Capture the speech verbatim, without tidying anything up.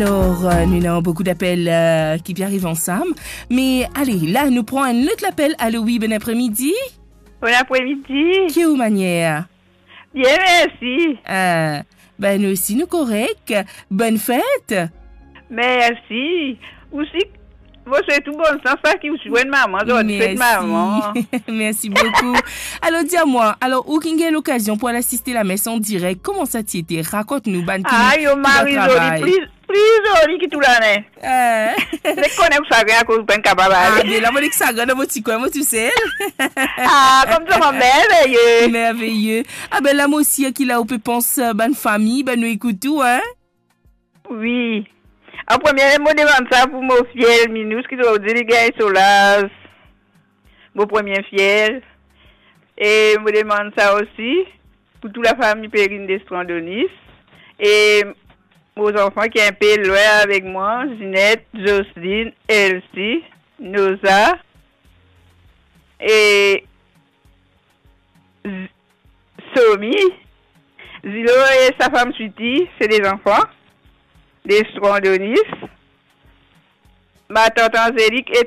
Alor, euh, nou ena boukou lapel, euh, ki pe ariv ansam. Me ale, la, nou pran enn lot lapel. Alo, wi, bon apremidi. Bon apremidi. Ki ou manier? Bien, mersi. Ah, ben, nou osi, nou korek. Bonn fet. Mersi. Osi, mo swet ou bonn sans, paski ou ti enn mama, zordi fet mama. Mersi. Mersi boukou. Alor, dir mwa, alor, ou ki'nn gagn lokazion pou al asiste lames an direk, kouma sa ti ete? Rakont nou, bann ki, ah, yo, ki dan Marie-Jolie, travay. Pli, pli zoli ki tou lane. Eh. Nek kone ou sagrin akoz ou pa'nn kapav ale. Ah, be la, mo nek sagrin dan mo ti kwin, mo tousel. Ah, koumsa, mo merveye. Merveye. Ah, be la, mo osi, ki la ou pe pans, euh, bann fami, bann nou ekout ou, hein? Wi. An premie, mo demann sa pou mo fie Minous, ki zordi li gagn so laz. Mo premie fie. E mo demann sa osi pou tou lafami Perrine Destrandonis. E mo zanfan ki enpe lwin avek mwa, Zinette, Jocelyne, Elsie, Noza, e Z-, Somi, Zilo e sa fam Switi, se de zanfan Destrandonis, ma tant Anzelik e